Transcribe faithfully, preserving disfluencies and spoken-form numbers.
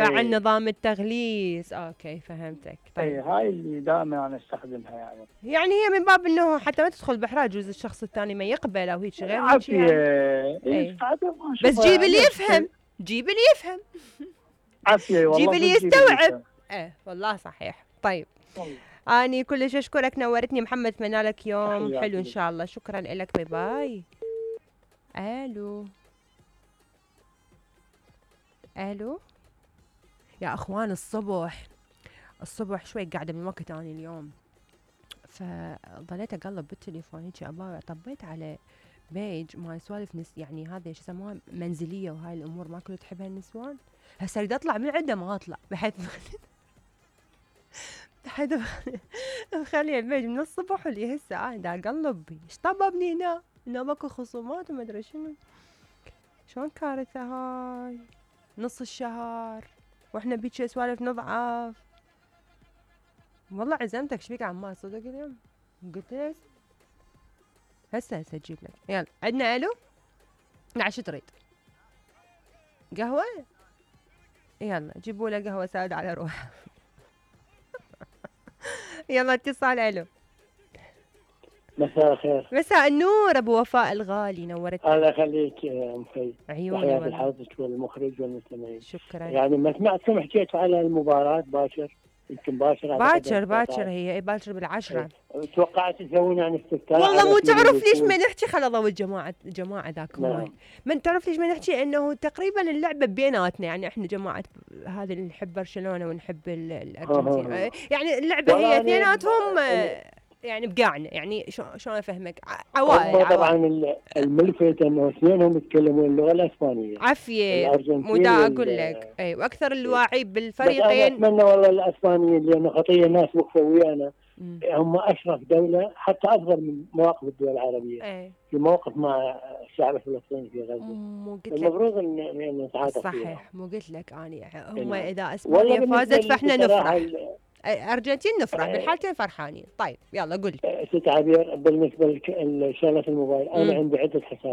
فعل نظام التغليس. اوكي فهمتك. طيب اي هاي اللي دائما انا استخدمها يعني. يعني هي من باب انه حتى ما تدخل بحراج، يجوز الشخص الثاني ما يقبل او هيك غير هيك عافية. يعني. اي بس جيب اللي يفهم، جيب اللي يفهم. عافية والله. جيب اللي يستوعب. ايه والله صحيح. طيب والله. اني كلش اشكرك، نورتني محمد، اتمنى لك يوم حلو ان شاء الله. شكرا لك، باي باي. الو الو يا اخوان، الصبح الصبح شوي قاعده من وقت اني اليوم، فضليت اقلب بالتليفون هيك ابا، طبيت على بيج ما سوالف نس يعني هذه شو يسموها منزليه وهاي الامور ما كنت تحبها النسوان. هسه اريد اطلع من عنده ما اطلع بحيث بحيث مخلي البيج من الصبح واللي هسه انا دا اقلب ايش طببني هنا هنا ماكو خصومات وما ادري شنو. شلون كارثه هاي نص الشهر واحنا بيك سوالف نضعف. والله عزمتك شبيك عمال صدق اليوم؟ قلت لك هسه هسه اجيب لك. يلا عندنا الو. نعم شو تريد؟ قهوة؟ يلا جيبوا له قهوة سادة على روحه. يلا اتصال. الو. مساء الخير. مساء النور ابو وفاء الغالي، نورتني. الله يخليك يا ام خي. عيوني تحياتي لحضرتك والمخرج والمستمعين. شكرا. يعني ما سمعتكم حكيتوا على المباراة باكر، يمكن باكر باكر باكر هي باكر بالعشرة. توقعت تسوون يعني استفتاء. والله مو تعرف ليش ما نحكي خل الله والجماعة جماعة ذاك هو. من تعرف ليش ما نحكي انه تقريبا اللعبة بيناتنا، يعني احنا جماعة هذا اللي نحب برشلونة ونحب الارجنتين، يعني اللعبة هي اثنيناتهم يعني بقعنا، يعني شلون افهمك عوائل. طبعا الملفت انه اثنينهم يتكلمون اللغه الاسبانيه. عافيه مو دا اقول لك. اي واكثر الواعي بالفريقين. اتمنى والله الاسبانيين لانه خطيه الناس وقفوا ويانا، هم اشرف دوله حتى افضل من مواقف الدول العربيه. أي. في موقف مع الشعب الفلسطيني في غزه. المفروض ان نتعاطف. صحيح. مو قلت لك اني هم اذا اسبانيا فازت فاحنا نفرح، الارجنتين نفرح بالحالتين فرحانين. طيب يلا قل. ست عبير بالنسبه لشغله الموبايل، انا عندي عده حسابات